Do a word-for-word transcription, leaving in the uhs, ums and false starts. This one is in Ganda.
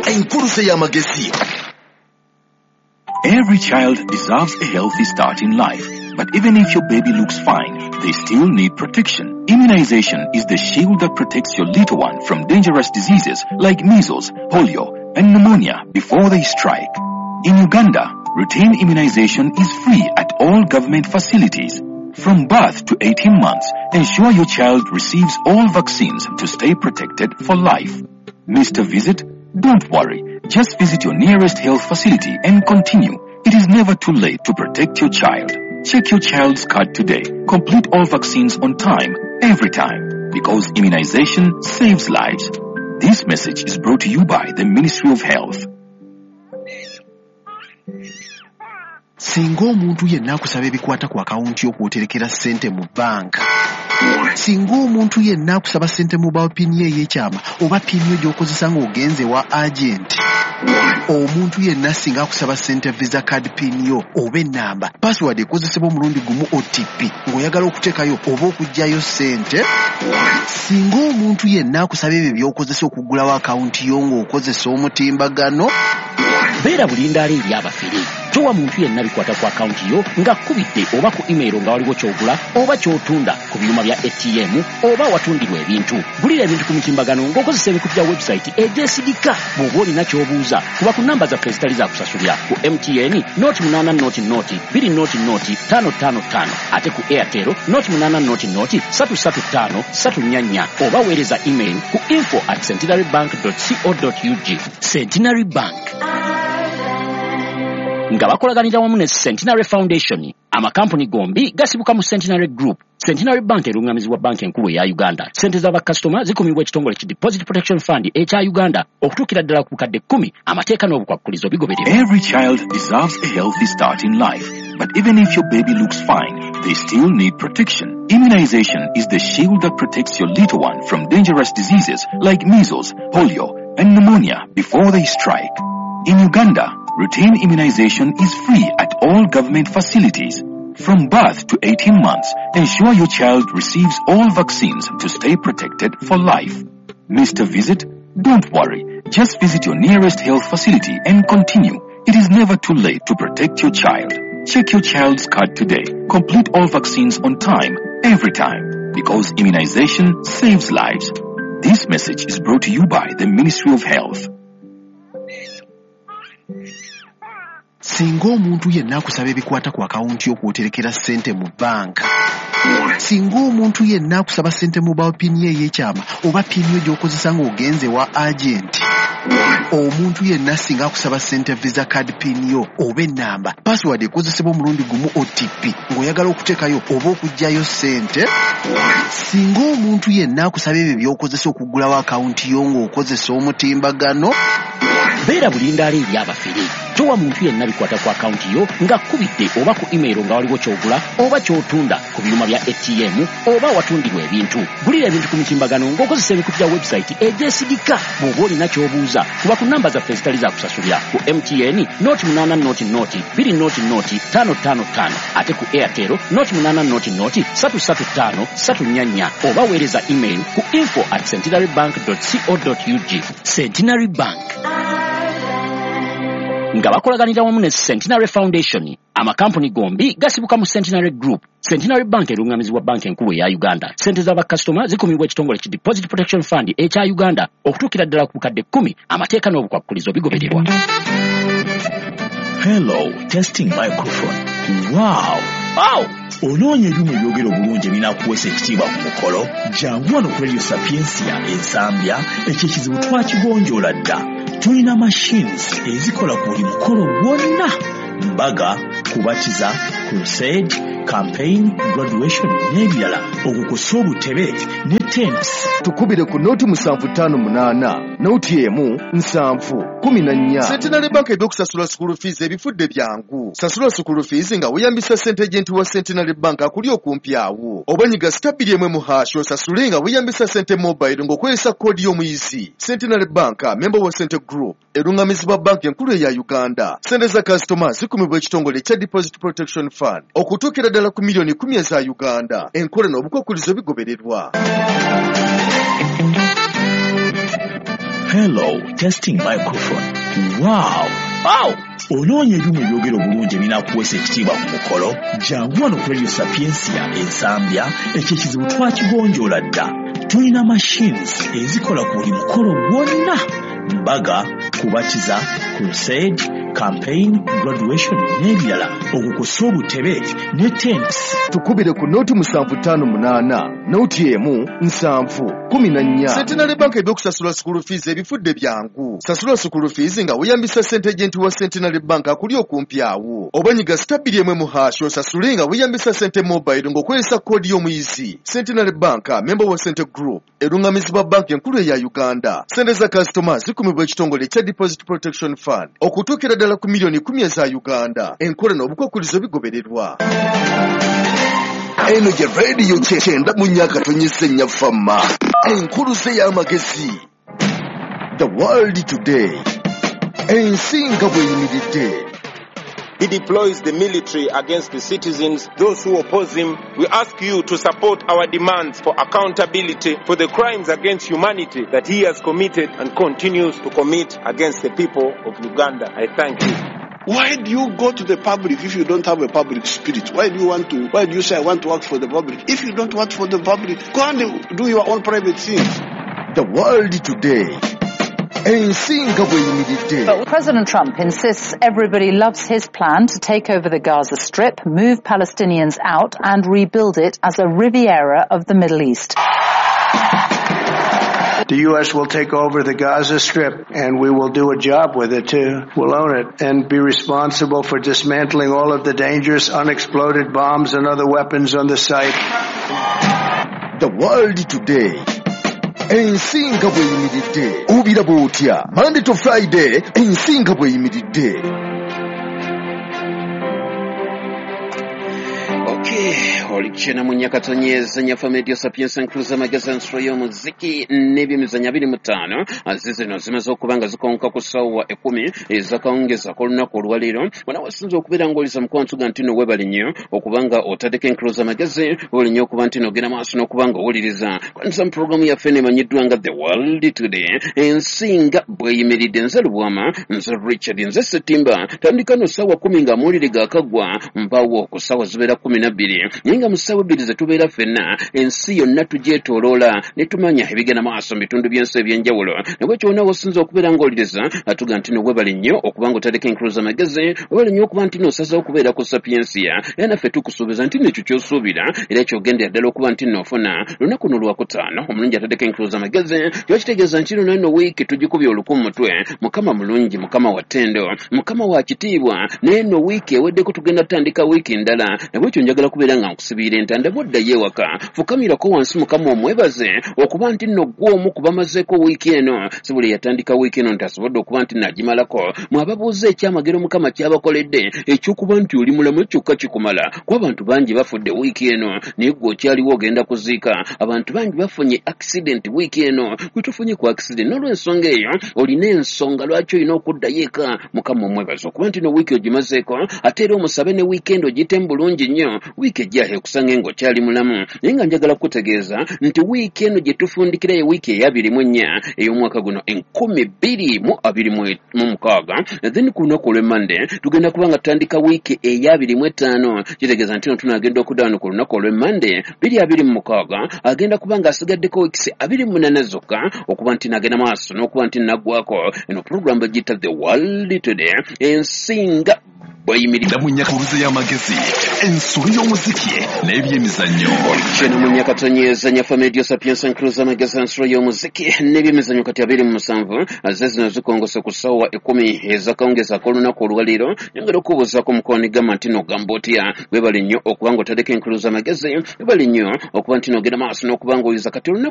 Enkuluze y'amagezi. Every child deserves a healthy start in life. But even if your baby looks fine, they still need protection. Immunization is the shield that protects your little one from dangerous diseases like measles, polio, and pneumonia before they strike. In Uganda, routine immunization is free at all government facilities. From birth to eighteen months, ensure your child receives all vaccines to stay protected for life. Missed a visit? Don't worry. Just visit your nearest health facility and continue. It is never too late to protect your child. Check your child's card today. Complete all vaccines on time, every time. Because immunization saves lives. This message is brought to you by the Ministry of Health. Singa omuntu yenna akusaba ebikwata ku akawunti y'okwoterekera ssente mu banka, singa omuntu yenna akusaba ssente mobile PIN ye ey'ekyama oba PIN yo gy'okozesa ng'ogenze wa agent, omuntu yenna singa akusaba ssente visa card PIN yo oba ennamba, password ekozesebwa omulundi gumu O T P ng'oyagala okuteekayo oba okuggyayo ssente, singa omuntu yenna akusaba ebyo by'okozesa okuggulawo akawunti yo ng'okozesa omutimbagano, Beera bulindaala eri abafere. Towa muntu yenna bikwata ku akawunti yo ng'akkubidde oba ku email nga waliwo ky'ogula oba ky'otunda ku byuma bya A T M oba awatundirwa ebintu. Gulira ebintu ku mitimbagano ng'okozesa emikutu gya website egyesigika. Bw'oba olina ky'obuuza, kuba ku namba zaffe ezitali za kusasulira: ku M T N nought munaana nought nought bbiri nought nought ttaano ttaano ttaano, ate ku Airtel nought munaana nought nought ssatu ssatu ttaano ssatu nnya nnya, oba weereza email ku info at centenary bank co ug. Centenary Bank nga bakolaganira wamu ne Centenary Foundation. Amakampuni gombi gasibuka mu Centenary Group. Centenary Bank erungamizibwa Banka Enkulu eya Uganda. Sente z'abakasitoma zikumibwa ekitongole ki Deposit Protection Fund ekya Uganda okutuukira ddala ku bukadde kkumi. Amateeka n'obukwakkulizo bigobererwa. Every child deserves a healthy start in life. But even if your baby looks fine, they still need protection. Immunization is the shield that protects your little one from dangerous diseases like measles, polio, and pneumonia before they strike. In Uganda, routine immunization is free at all government facilities. From birth to eighteen months, ensure your child receives all vaccines to stay protected for life. Missed a visit? Don't worry. Just visit your nearest health facility and continue. It is never too late to protect your child. Check your child's card today. Complete all vaccines on time, every time. Because immunization saves lives. This message is brought to you by the Ministry of Health. Singa omuntu yenna akusaba ebikwata ku akawunti y'okwoterekera ssente mu banka, singa omuntu yenna akusaba ssente mobile PIN ye ey'ekyama oba PIN yo gy'okozesa ng'ogenze wa agent, omuntu yenna singa akusaba ssente visa card PIN yo oba ennamba, password ekozesebwa omulundi gumu O T P ng'oyagala okuteekayo oba okuggyayo ssente, singa omuntu yenna akusaba ebyo by'okozesa okuggulawo akawunti yo ng'okozesa omutimbagano, Beera bulindaala eri abafere. Towa muntu yenna bikwata ku akawunti yo ng'akkubidde oba ku email nga waliwo ky'ogula oba ky'otunda ku byuma bya A T M oba awatundirwa ebintu. Gulira ebintu ku mitimbagano ng'okozesa emikutu gya website egyesigika. Bw'oba olina ky'obuuza, kuba ku namba zaffe ezitali za kusasulira: ku M T N nought munaana nought nought bbiri nought nought ttaano ttaano ttaano, ate ku Airtel nought munaana nought nought ssatu ssatu ttaano ssatu nnya nnya, oba weereza email ku info at centenary bank co ug. Centenary Bank nga bakolaganira wamu ne Centenary Foundation. Amakampuni gombi gasibuka mu Centenary Group. Centenary Bank erungamizibwa Banka Enkulu eya Uganda. Sente z'abakasitoma zikumibwa ekitongole ki Deposit Protection Fund ekya Uganda okutuukira ddala ku bukadde kkumi. Amateeka n'obukwakkulizo bigobererwa. Hello, testing microphone. Wow! Wow! Onoonya ebyuma ebyogera obulungi ebinaakuweesa ekitiibwa ku mukolo? Jangu wano ku Radio Sapiensia Ensambya, ekyo ekizibu twakigonjoola dda. Tulina machines ezikola ku buli mukolo gwonna: mbaga, kubatiza, crusade, campaign, graduation n'ebirala, okwo kw'ossa obutebe ne tents. Tukubire ku nought musanvu ttaano munaana nought emu nsanvu kumi na nnya. Centenary Bank ebyokusasula school fees ebifudde byangu. Sasula school fees nga weeyambisa sente agent wa Centenary Bank akuli okumpi awo, oba nyiga star bbiri emu emu hash osasule nga weeyambisa sente mobile ng'okozesa koodi y'omuyizi. Centenary Bank, member wa Sente Group, erungamizibwa Banka Enkulu eya Uganda. Sente za kasitoma zikumibwa ekitongole ekya Deposit Protection Fund okutuukira ddala ku miliyoni kumi eza Uganda. Enkola n'obukwakkulizo bigobererwa. Hello, testing microphone. Wow! Wow! Onoonya ebyuma ebyogera obulungi ebinaakuweesa ekitiibwa ku mukolo? Jangu wano ku Radio Sapientia Ensambya, ekyo ekizibu twakigonjoola dda. Tulina machines ezikola ku buli mukolo gwonna: mbaga, kubatiza, crusade, campaign, graduation n'ebirala, okwo kw'ossa obutebe ne tents. Tukubire ku noti musanvu ttaano munaana noti emu nsanvu kumi na nnya. Centenary Bank ebyokusasula school fees ebifudde byangu. Sasula school fees nga weeyambisa sente agent wa Centenary Bank akuli okumpi awo, oba nyiga star bbiri emu mu hash osasule nga weeyambisa sente mobile ng'okozesa koodi y'omuyizi. Centenary Bank, member wa Sente Group, erungamizibwa banki enkulu eya Uganda. Sente za kasitoma zikumibwa ekitongole ekya Deposit Protection Fund okutuukira ddala ku miliyoni kumi eza Uganda. Enkola n'obukwakkulizo bigobererwa. Eno gye rediyo kyenda mu nnya tonyesa ennya fama, enkuluze y'amagezi. The World Today, ensi nga bw'eyimiridde. He deploys the military against the citizens, those who oppose him. We ask you to support our demands for accountability for the crimes against humanity that he has committed and continues to commit against the people of Uganda. I thank you. Why do you go to the public if you don't have a public spirit? Why do you want to, why do you say I want to work for the public? If you don't work for the public, go and do your own private things. The World Today. Ensi nga bw'eyimiridde. President Trump insists everybody loves his plan to take over the Gaza Strip, move Palestinians out and rebuild it as a Riviera of the Middle East. The U S will take over the Gaza Strip, and we will do a job with it too. We'll own it and be responsible for dismantling all of the dangerous unexploded bombs and other weapons on the site. The World Today. Ensi nga bw'eyimiridde. Obiraba otya? Monday to Friday, ensi nga bw'eyimiridde. Okay, olikyena mu nyakatonyeza nyafa media sapiens nkruza magazine nsolo y'omuziki n'ebyemizannyo abiri mu ttaano zizino zimaze okuba nga zikonka ku ssaawa ekkumi ezakawungeza k'olunaku olwaleero. Wano wasinza okubeera ng'oliza mukwano ga nti nno weebale nnyo okuba nga otaddeko enkuluza magezi, weebale nnyo okuba nti nno ogenda maaso n'okuba nga owuliriza kwanisa mu pulogulaamu yaffe emanyiddwa nga The World Today, ensi nga bw'eyimiridde. Nze Lubwama, nze Richard, nze Ssetimba. Tandika no ssaawa kkumi ng'amawulire gaakaggwa, mpawo ku ssaawa zibeera kkumi na bbiri, naye nga mu ssaawa ebbiri ze tubeera ffenna ensi yonna tugyetooloola ne tumanya ebigenda maaso mu bitundu by'ensi eby'enjawulo. Nabwekyo wonna wosinza okubeera ng'oliriza atuga nti no weebale nnyo okuba nga otaddeko enkuluza magezi, weebale nnyo okuba nti n'osazeewo okubeera ku Sapientia, era naffe tukusuubiza nti nekyo ky'osuubira era kyogendera ddala okuba nti n'ofuna. Lunaku luno lwakutaano omulungi ataddeko enkuluza magezi, kiba kitegeeza nti luno eno wiiki tugikubye oluku mu mutwe. Mukama mulungi, Mukama wa ttendo, Mukama wa kitiibwa, naye eno wiiki eweddeko tugenda tutandika wiiki ndala. Nabwekyo njagala kubeera nga nkusibiira entanda bw'oddayo ewaka, fukamirako wansi Mukama omwebaze okuba nti nno ggwe omu ku bamazeeko wiiki eno. Si buli yatandika wiiki eno nti asobodde okuba nti naagimalako. Mwababuuza ekyamagero Mukama ky'abakoledde eky'okuba nti oli mulamu kyokka kikumala, kuba abantu bangi bafudde wiiki eno naye ggwe okyaliwo ogenda kuziika. Abantu bangi bafunye accident wiiki eno, gwe tofunye ku accident. N'olw'ensonga eyo olina ensonga lwaki olina okuddayo eka. Mukama omwebaze okuba nti no wiiki ogimazeeko, ate era omusabe ne wiikendi ogiyitemu bulungi nnyo. Wiiki ejja ekusange ng'okyali mulamu. Naye nga njagala kukutegeeza nti wiiki eno gye tufundikira ye wiiki ey'abiri mu ennya ey'omwaka guno enkumi bbiri mu abiri mu mukaaga. Then ku lunaku olw'Emmande tugenda kuba nga tutandika wiiki ey'abiri mu etaano. Kitegeeza nti no tunaagenda okudda wano ku lunaku olw'Emmande bbiri abiri mu mukaaga, agenda kuba ng'asigaddeko wiikisi abiri mu munaana zokka okuba nti nagenda maaso n'okuba nti naggwako. Eno pulogulaamu bagiyita The World Today, ensi nga bw'eyimiridde. Munyakaluze y'amagezi, ensolo y'omuziki n'ebyemizannyo. Kino munyakatonyeza nyafa media sapiens nkruza magezi ensolo y'omuziki n'ebyemizannyo kati abiri mu musanvu ze zino zikongose ku ssaawa ekkumi ezakawungeza ak'olunaku olwaleero. Nyongera okubuuzaako mukwano gamba nti n'ogamba otya. Weebale nnyo okuba nga otaddeko enkuluza magezi, weebale nnyo okuba nti n'ogenda maaso n'okuba ng'oyiza kati olunaku